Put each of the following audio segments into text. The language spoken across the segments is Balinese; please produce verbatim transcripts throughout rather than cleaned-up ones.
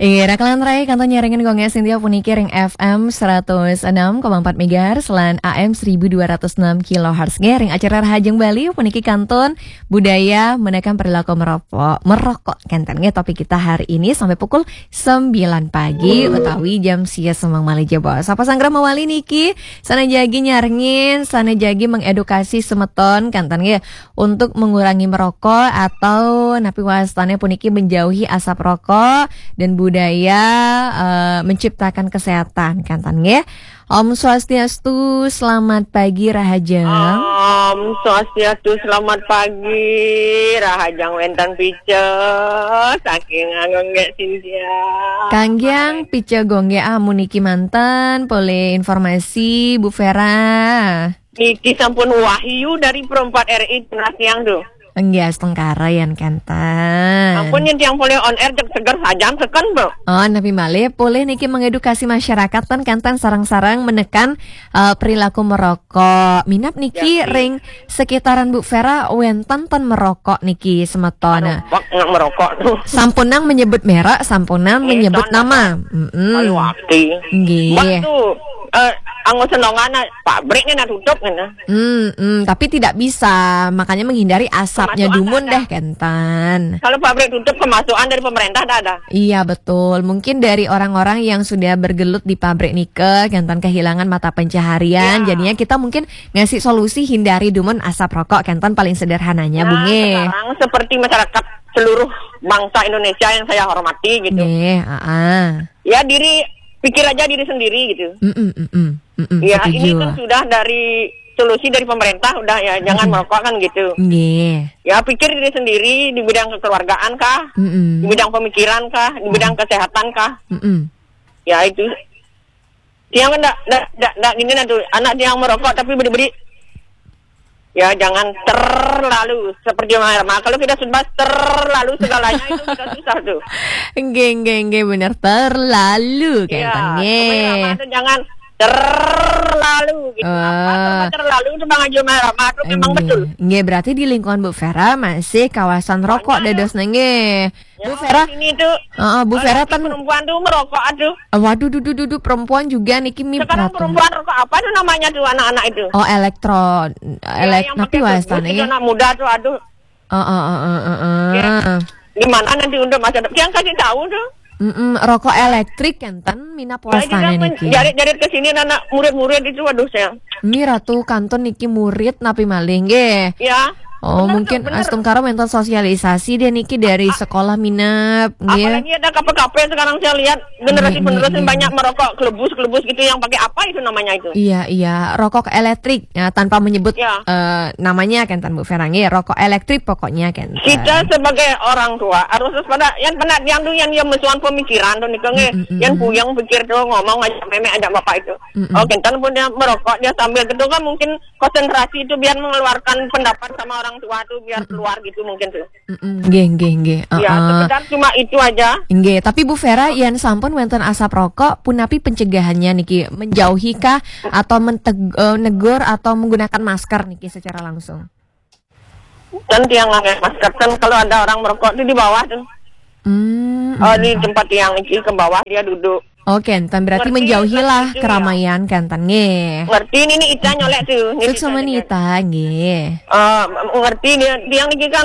Iya, rakalan rai kantun nyarengin Gong Sintia puniki ring F M seratus enam koma empat megahertz lan A M seribu dua ratus enam kilohertz. Nggih, ring acara Rahajeng Bali puniki kantun budaya menekan perilaku merokok, merokok kenten nggih topik kita hari ini sampai pukul sembilan pagi utawi jam sia semeng malih jebos. Sapa sanggra mawali niki, sana jagi nyarengin, sana jagi mengedukasi semeton kenten nggih untuk mengurangi merokok atau napi wastane puniki menjauhi asap rokok dan budaya eh, menciptakan kesehatan kenten nggih. Om Swastiastu, selamat pagi Rahajeng. Om Swastiastu, selamat pagi. Rahajeng wenten pica saking Anggonggek Sintia. Kanggiang pica gongge amu niki manten, polih informasi Bu Vera. Niki sampun Wahyu dari Perempat R I Tengah Siang tuh. Enggak, astungkara yan kenten. Ampun, yang tiang boleh on air cek seger saja seken, Bu. Oh, napi malih polih niki mengedukasi masyarakat ten kenten sarang-sarang menekan eh, perilaku merokok. Minap niki ring sekitaran Bu Vera wenten ten merokok niki semeton. Bak nggak merokok tuh. Sampunang menyebut merek, sampunang menyebut nama. Mm-mm. Ayo, aki. Nggih. Bak tuh, eh, anggo senongan, pabriknya nak tutup, gitu. Hmm, hmm, tapi tidak bisa, makanya menghindari asapnya. Kemasukan dumun ada. Deh, kenten. Kalau pabrik tutup, kemasukan dari pemerintah tak ada. Iya, betul. Mungkin dari orang-orang yang sudah bergelut di pabrik nika, kenten kehilangan mata pencaharian. Ya. Jadinya kita mungkin ngasih solusi hindari dumun asap rokok, kenten paling sederhananya, nah, Bu, nggih. Sekarang seperti masyarakat seluruh bangsa Indonesia yang saya hormati gitu. Nggih, heeh. Ya, diri, pikir aja diri sendiri gitu. Mm-mm, mm-mm, mm-mm, ya, setuju. Ini kan sudah dari solusi dari pemerintah, udah ya, jangan merokok kan gitu. Nggih. Ya, pikir diri sendiri di bidang kekeluargaan kah, mm-mm, di bidang pemikiran kah, di bidang kesehatan kah. Mm-mm. Ya, itu. Tiang ndak, ndak, ndak, ndak gini nanti anak tiang merokok tapi beri-beri. Ya, jangan terlalu seperti Rhoma Irama. Kalau kita sudah terlalu segalanya itu kita susah tuh. Nggih, nggih, nggih, bener. Terlalu, iya, kenten, nggih. Rhoma Irama tuh jangan terlalu gitu. Apa tuh terlalu itu Bang Haji Rhoma Irama tuh memang betul. Nggih, berarti di lingkungan Bu Vera masih kawasan rokok dadosnya, nggih. Bu Vera. Ini tuh, heeh, Bu Vera kan perempuan tuh merokok, aduh. Waduh, dudu, dudu, perempuan juga niki mi. Sekarang perempuan rokok apa tuh namanya tuh anak-anak itu? Oh, elektro, ya, elek-, yang napi pakai wastane, itu, ya? Anak muda tuh, aduh. Heeh, heeh, heeh. Ya. Gimana nanti untuk masa depan? Yang kasih tahu tuh. Mm-mm, rokok elektrik kenten minap wastane niki. Jarit-jarit ke sini anak murid-murid itu, waduh, saya. Mira tuh kantun niki murid napi malih nggih. Ya. Oh, bener mungkin tuh, bener. Astungkara wenten sosialisasi deh niki dari sekolah minap nggih. Apalagi ada kafe-kafe sekarang saya lihat generasi penerus banyak merokok kelebus-kelebus gitu yang pakai apa itu namanya itu? Iya, iya, rokok elektrik ya, tanpa menyebut, ya, eh, namanya kenten Bu Vera nggih, rokok elektrik pokoknya kenten. Kita sebagai orang tua harus waspada yang pernah yang tuh yang yang mesuan pemikiran tuh nih nggih, yang puyeng pikir tuh ngomong aja memek aja bapak itu. Mm-mm. Oh, kenten pun dia merokok, dia sambil gitu kan mungkin konsentrasi itu biar mengeluarkan pendapat sama orang tua tuh biar keluar gitu mungkin tuh. Mm-mm. Nggih, nggih, nggih. Ya, heeh, sekedar cuma itu aja. Nggih, tapi Bu Vera, yen sampun wenten asap rokok, punapi pencegahannya niki? Menjauhi kah atau menteg-, eh, negur atau menggunakan masker niki secara langsung? Kan tiang pakai masker kan kalau ada orang merokok tuh di bawah tuh. Hmm. Oh, di tempat tiang niki ke bawah dia duduk. Oke, enten berarti menjauhilah keramaian, kenten nggih. Ngerti ini nih Ita nyolek tuh. Ini suksma Ita nyolek. Nita nggih. Eh, ngerti dia, dia niki kan,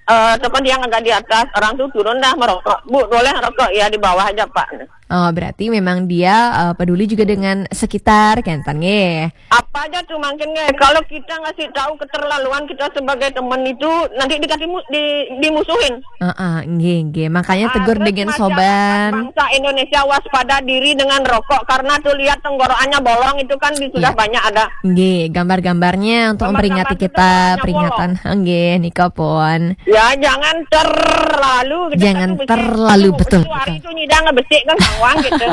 eh, teman yang agak di atas, orang tuh turun dah merokok. Bu, boleh rokok? Ya, di bawah aja, Pak. Oh, berarti memang dia, eh, peduli juga dengan sekitar, kenten nggih. Apa aja tuh mungkin nggih, kalau kita ngasih tahu keterlaluan kita sebagai teman itu nanti dikasih mu-, di-, dimusuhin. Heeh, nggih, nggih. Makanya tegur dengan soban. Bangsa Indonesia waspada diri dengan rokok karena tuh lihat tenggorokannya bolong itu kan di-, sudah banyak ada. Nggih, gambar-gambarnya untuk memperingati kita peringatan. Nggih, nika pun. Ya, jangan terlalu gitu. Jangan terlalu, betul, betul. Itu nyidang ngebesik kan sawang gitu.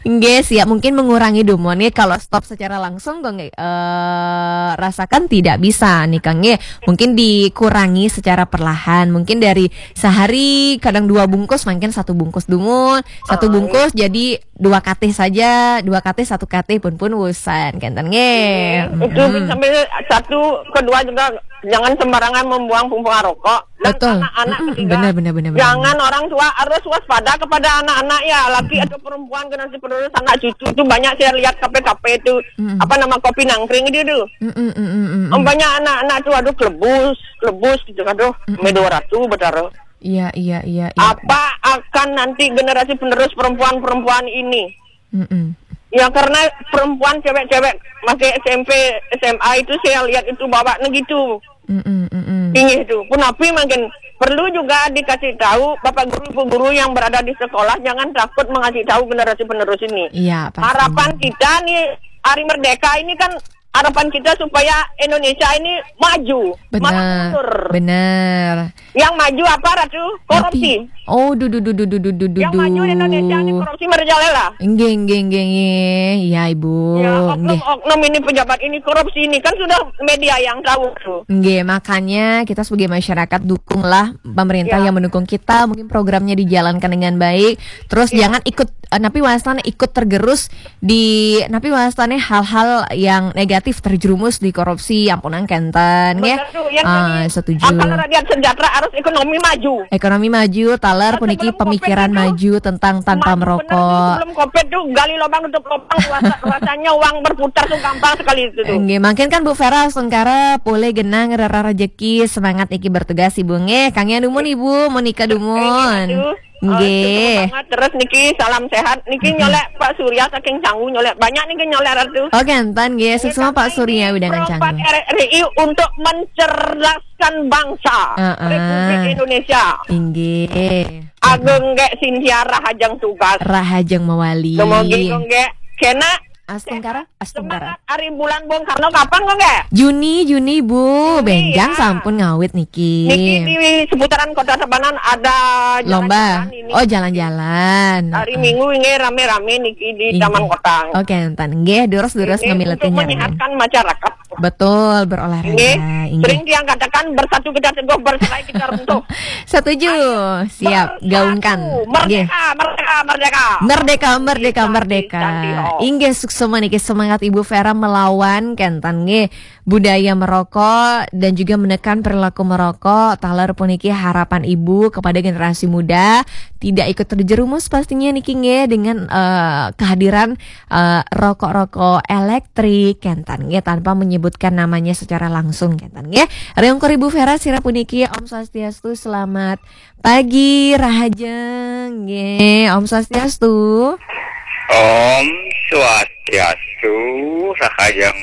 Nggih, siap. Mungkin mengurangi dumun nggih kalau stop secara langsung kok nggih, eh, rasakan tidak bisa nih Kang nggih. Mungkin dikurangi secara perlahan. Mungkin dari sehari kadang dua bungkus, mungkin satu bungkus dumun, satu bungkus jadi dua katih saja, dua katih, satu katih pun, pun wusan, kenten nggih. Itu sampai satu, kedua juga jangan sembarangan membuang pungan rokok. Dan betul. Anak-anak ketiga, benar, benar, benar, benar. Jangan orang tua harus waspada kepada anak-anak ya, laki atau perempuan, generasi penerus, anak cucu itu banyak saya lihat kafe-kafe itu, apa nama, kopi nangkring itu tuh. Mm-mm, mm-mm, mm-mm. Banyak anak-anak tuh, aduh, kelebus, kelebus gitu, aduh, mm-mm, me dua ratus betara. Iya, iya, iya, iya. Apa akan nanti generasi penerus perempuan-perempuan ini? Mm-mm. Ya, karena perempuan, cewek-cewek masih S M P, S M A itu saya lihat itu bawa negitu. Mm-mm, mm-mm. Tinggi itu. Punapi makin perlu juga dikasih tahu bapak guru, ibu guru yang berada di sekolah, jangan takut mengasih tahu generasi penerus ini. Iya, pasti. Harapan kita nih, hari merdeka ini kan, harapan kita supaya Indonesia ini maju, benar, malah mundur. Benar. Yang maju apa, Ratu? Korupsi. Tapi, oh, duh, duh, duh, duh, duh, duh, duh, duh, yang maju Indonesia ini duh. Korupsi merajalela. Nggih, nggih, nggih, nggih. Ya, Ibu. Ya, nggih. Oknum-oknum ini, pejabat ini korupsi ini, kan sudah media yang tahu tuh. Nggih, makanya kita sebagai masyarakat dukunglah pemerintah, ya, yang mendukung kita, mungkin programnya dijalankan dengan baik. Terus, ya, jangan ikut, eh, napi wastane, ikut tergerus di, napi wastane, hal-hal yang negatif, terjerumus di korupsi, ampunang kenten, nggih. Bener tuh, yang ah, tadi, setuju. Apa, rakyat sejahtera harus ekonomi maju. Ekonomi maju, taler. Nah, puniki sebelum pemikiran COVID itu, maju tentang tanpa maju bener tuh, merokok. Sebelum COVID tuh, gali lubang tutup lubang, rasa-, rasanya uang berputar tuh gampang sekali itu tuh. Nggih, mungkin kan Bu Vera Astungkara polih genah ngrereh rejeki, semangat niki bertugas Ibu nggih. Kangge dumun Ibu, menika dumun. Nggih. Nggih. Oh, itu banget. Terus niki salam sehat. Niki nyolek Pak Surya saking Canggu nyolek. Banyak niki nyolek Ratu. Oh, kenten nggih. Nggih, suksma karena Pak Surya ini wewidangan Canggu. Pro empat R R I untuk mencerdaskan bangsa Republik Indonesia. Inggih. Ageng nggih, Sintia, rahajeng tugas. Rahajeng mawali. Dumugi nggih. Kena Astungkara, Astungkara. Semangat hari bulan Bung Karno kapan kok nggih? Juni, Juni, Bu. Juni, benjang ya. Sampun ngawit niki. Niki di seputaran Kota Tabanan ada lomba. Jalan-jalan ini. Oh, jalan-jalan. Hari Minggu ini rame-rame niki di Taman Kota. Oke, enten. Nggih, durus-durus ngambil untuk menyehatkan masyarakat. Betul, berolahraga. Nggih. Sering tiang katakan, bersatu kita teguh, bercerai kita runtuh. Setuju. Siap, gaungkan. Bersatu. Merdeka, merdeka, merdeka. Merdeka, merdeka, merdeka. Inggih, suksma niki semangat Ibu Vera melawan kenten nggih budaya merokok dan juga menekan perilaku merokok. Taler puniki harapan Ibu kepada generasi muda tidak ikut terjerumus pastinya niki nggih dengan, eh, kehadiran, eh, rokok-rokok elektrik kenten nggih tanpa menyebutkan namanya secara langsung kenten nggih. Riungkur Ibu Vera sira puniki Om Swastiastu, selamat pagi, rahajeng. Nggih, Om Swastiastu. Om Swastiastu, rahajeng.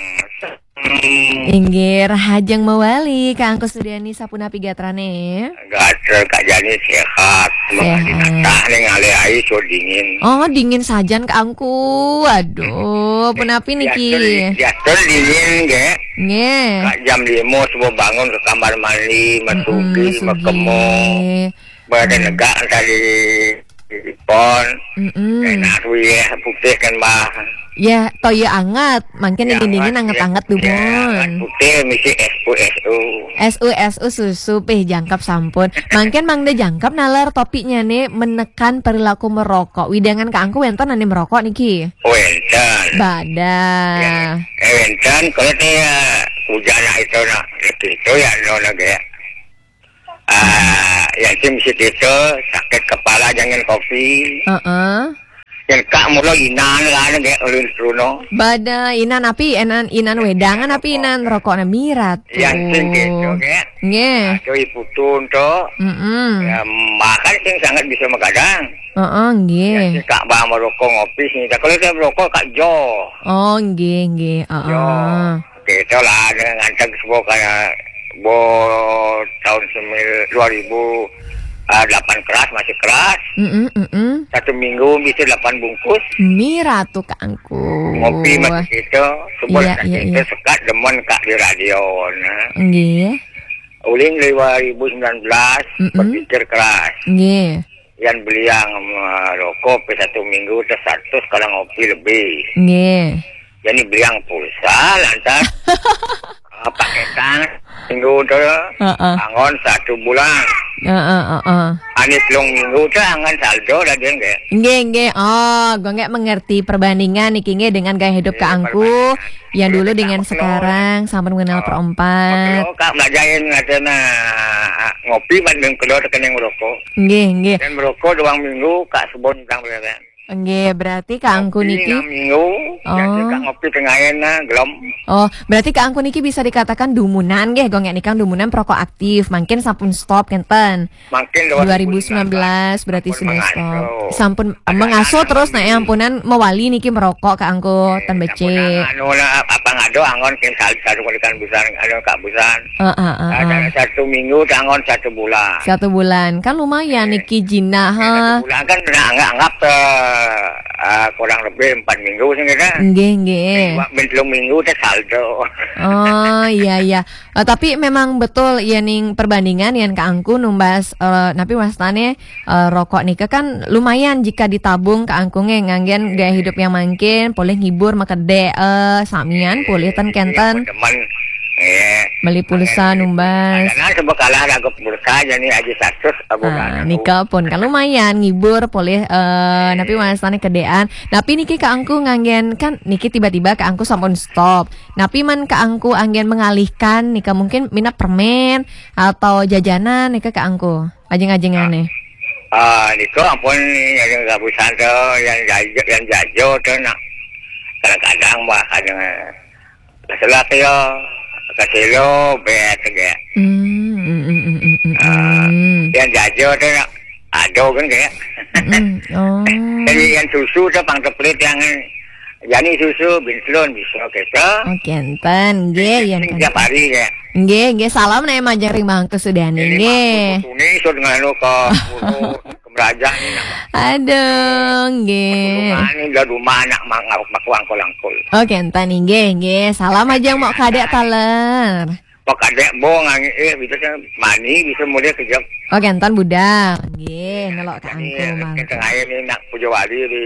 Hmm. Inggih, rahajeng mawali, Kang Kusudeni sapunapi gatrane? Gatra Kak Jani sehat. Sehat. Makanya ning ale ai so dingin. Oh, dingin sajan Kangku. Aduh, punapi niki? Diatur, diatur dingin nggih. Nggih. Kak jam lima subuh bangun ke kamar mandi, masugi, masugi. Makemo. Badan negak tadi di pon. Mm-mm. Enak kuwi ya, putih kan, Mbah. Ya, toya anget. Mangkin ya, dingin-dingin anget, anget-anget ya, dumun. Anget putih misi S U S U. S U S U susu pih jangkep sampun. Mangkin mangda jangkep nalar topiknya nih menekan perilaku merokok. Wewidangan Kangku wenten ane merokok niki? Wenten. Badah. Ya, eh, wenten kalau saya hujan itu nak itu ya no lagi ya. Ah, ya sing mesti itu sakit kepala jangan kopi. Heeh. Yang kak mula inan lah nggih ulun Bruno. Bada inan api, inan, inan wedangan api, inan rokokna mirat. Yang sing gitu nggih. Nggih. Nah, cuy putun to. Mm-mm. Ya, makan sing sangat bisa magadang. Heeh, nggih. Ya, sing kak ba merokok ngopi sing. Kalau saya merokok kak jo. Oh, nggih, nggih. Heeh. Jo. Kita lah dengan ngantag sebuah kayak bo tahun semil-, dua ribu delapan keras, masih keras. Mm-mm, mm-mm. Satu minggu bisa delapan bungkus. Mira tuh Kangku. Ngopi masih kita, sebuah iya, iya, kita iya. Sekat demen kak di radio, nah. Nggih. Ulin dua ribu sembilan belas, mm-mm. Berpikir keras. Nggih. Yang beliang, eh, rokok pe satu minggu teh seratus, kalau ngopi lebih. Nggih. Jadi beliang pulsa lantas. Paketan minggu tu, Heeh. Anggon satu bulan. Heeh, heeh. Anis long minggu tu anggon saldo dah dia ke. Nggih, nggih. Oh, gue nggak mengerti perbandingan niki nggih dengan gaya hidup Kak Angku yang dulu dengan sekarang sampun mengenal perompat. Kalau Kak belajarin ada na ngopi banding kedua tekening merokok. Nggih, nggih. Dan merokok dua minggu Kak sebon tang berapa. Nggih, berarti Kak Angku niki enam minggu, oh. Jadi Kak ngopi tengah na gelem. Oh, berarti Kak Angku niki bisa dikatakan dumunan nggih, gue nggak nikang dumunan perokok aktif, mungkin sampun stop kenten. Mungkin dua ribu sembilan belas berarti sampun sudah mengasuh. Stop. Sampun mengasuh terus nak yang ampunan mewali niki merokok Kak Angku, eh, ten becik. Anu lah apa ngado anggon kin satu kali kan busan, anu Kak busan. Heeh, heeh. Ada satu minggu anggon satu bulan. Satu bulan. Kan lumayan eh, niki jinah, eh, ha. Satu bulan kan nak anggap anggap eh, eh, kurang lebih empat minggu sih kita. Nggih, nggih. Dua minggu, minggu teh saldo. Oh, iya, iya. Eh, tapi memang betul ya ning perbandingan yang Kak Angku numbas eh, napi wastane eh, rokok nika kan lumayan jika ditabung Kak Angku nge nganggen gaya hidup yang mangkin, boleh ngibur makede eh, samian, boleh ten kenten. Teman, eh, beli pulsa numbas. Nah, sebab kalah lagu pulsa jadi aja satu abu. Ah, nika pun kan lumayan ngibur boleh eh, napi wastane kedean. Napi niki Kak Angku nganggen kan niki tiba-tiba Kak Angku sampun stop. Napi man Kak Angku anggen mengalihkan nika mungkin minat permen atau jajanan nika Kak Angku. Ajeng-ajengane. Ah, nika ampun yang gabusan tu, yang jajo, yang jajo tu nak. Kadang-kadang bah kadang salah kaya kaselo bet ge. Hmm, hmm, hmm, hmm, hmm, hmm, Ah, hmm. Yang jajo tu nak ado kan kayak. Hmm, oh. Jadi yang susu tu pang teplit yang jani susu binslon bisa kita. Oke, enten nggih yang tiap hari ya. Nggih, nggih salam nek majeng ring mangke sudane nggih. Ini sudah nganu ke guru kemeraja ni nak. Aduh, nggih. Rumah ni dah rumah anak mangaruk maku angkul-angkul. Oke, enten nggih, nggih. Salam aja mau kadek taler. Kok ada bong angin eh bisa kan mani bisa mulai kejap. Oke, enten budal. Nggih, nelok Kak Angku mangke. Tengah ni nak puja wali di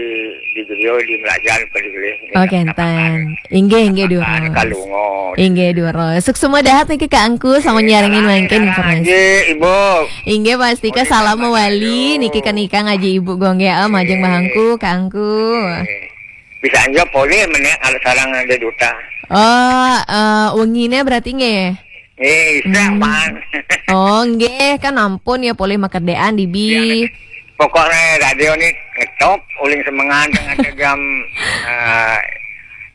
di Jogja di Melajan pada gele. Oke, enten. Inggih, inggih, Dura. Kalungo. Inggih, Dura. Suksma dahat niki Kak Angku sama nyarengin mangkin informasi. Inggih, Ibu. Inggih, pastika salam mewali niki kenika ngaji Ibu Gongge eh, majeng bahangku Kak Angku. Bisa aja boleh menek kalau sarang ada duta. Oh, eh, wengine berarti nggih. Eh, bisa, Hmm. Man. Oh, nggih, kan ampun ya boleh makedean dibi. Ya, pokoknya radio ni ngetop uling semengan tengah jam eh,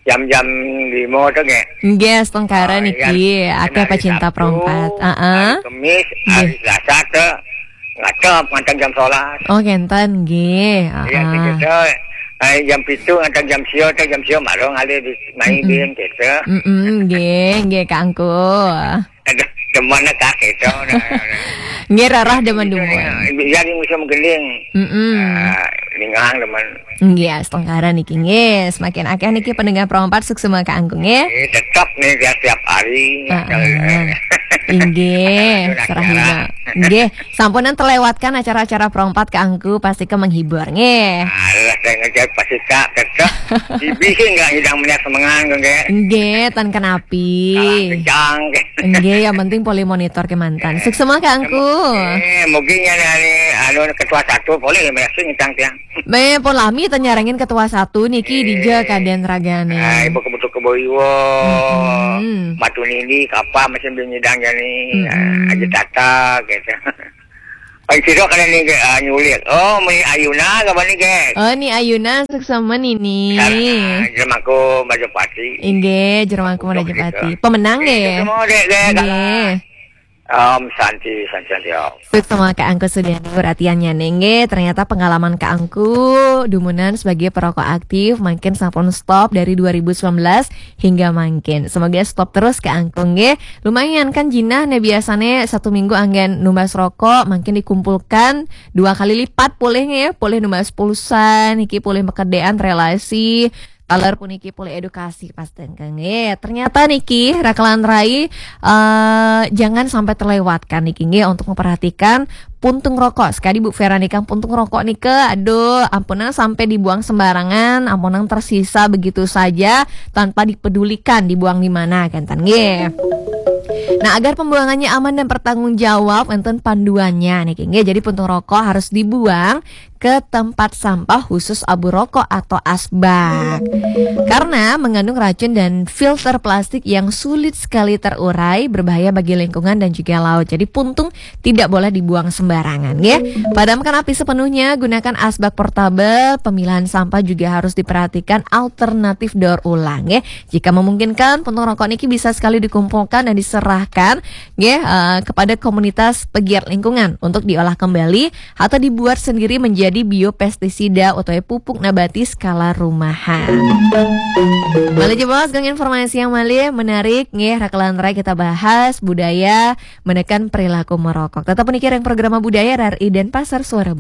jam-jam lima tu nggih. Nggih, setengkara Ah, niki, iya. Akeh Hari pecinta Sabtu, perompat. Heeh. Hari Kemis, Nggih. Hari Selasa tu ngatop nganti jam sebelas. Oh, ngenten nggih. Iya, Heeh. Kita hari jam pitu nganti jam sia tu jam sia malu ngalih di main Hmm. Bin kita. Mm-mm, nggih, nggih Kak Angku. Aduh, demen kak itu. Nggih rarah demen demen. Jadi musim gending. Mm-mm. Ah, ningang demen. Nggih, astungkara niki nggih. Semakin akeh niki pendengar perompat suksma Kak Angku nggih. Eh, tetap nih dia setiap hari. Heeh. Inggih, Acara-acara. Serahina. Nggih, sampunan terlewatkan acara-acara perompat Kak Angku pasti ke menghibur nggih. Alah, saya ngejar pasti kak tetap. Dibikin nggak hidang minyak semengan nggih. Nggih, tan kenapi. Kalah kencang. Nggih, yang penting boleh monitor kemantan. Suksma Kak Angku. Eh, mungkin ya anu ketua satu boleh ya mesin ngitang tiang. Me pun lami tanyarangin ketua satu niki Eh. Dija kaden ragane. Ah, ibu kebutuh kebo iwo. Mm-mm. Batu nini kapa mesin bin nyidang jani. Mm-mm. Ah, aja tata gitu. Paling siro kena ni ke ah, nyulit. Oh, meni ayuna ke bani ke. Oh, ni ayuna suksma nini. Sarang, ah, jerem aku Majapati. Inggih, jerem aku Majapati. Pemenang Eh, nggih. Semua dek dek Nggih. Om Santi, Santi, Santi Om. Suksma Kak Angku Sudiani perhatiannya nggih. Ternyata pengalaman Kak Angku dumunan sebagai perokok aktif makin sampun stop dari dua ribu sembilan belas hingga makin. Semoga stop terus Kak Angku nggih. Lumayan kan jinah nih biasanya satu minggu anggen numbas rokok makin dikumpulkan dua kali lipat boleh nggih. Boleh numbas pulsa niki boleh pekerjaan relasi taler puniki polih edukasi pas tengkeng. Eh, ternyata niki rakelan rai eh, jangan sampai terlewatkan niki nggih untuk memperhatikan puntung rokok. Sekali Bu Vera nikang puntung rokok nika, aduh, ampunang sampai dibuang sembarangan, ampunang tersisa begitu saja tanpa dipedulikan dibuang di mana kan nggih. Nah, agar pembuangannya aman dan bertanggung jawab, wonten panduannya niki nggih. Jadi puntung rokok harus dibuang ke tempat sampah khusus abu rokok atau asbak. Karena mengandung racun dan filter plastik yang sulit sekali terurai, berbahaya bagi lingkungan dan juga laut. Jadi puntung tidak boleh dibuang sembarangan ya. Padamkan api sepenuhnya, gunakan asbak portabel, pemilahan sampah juga harus diperhatikan, alternatif daur ulang ya. Jika memungkinkan, puntung rokok niki bisa sekali dikumpulkan dan diserahkan ya, eh, kepada komunitas pegiat lingkungan untuk diolah kembali atau dibuat sendiri menjadi biopestisida atau pupuk nabati skala rumahan. Malih jebos, geng informasi yang malih menarik nggih, rakelan rai kita bahas budaya menekan perilaku merokok. Tetap menikir yang programa budaya R R I Denpasar, Suara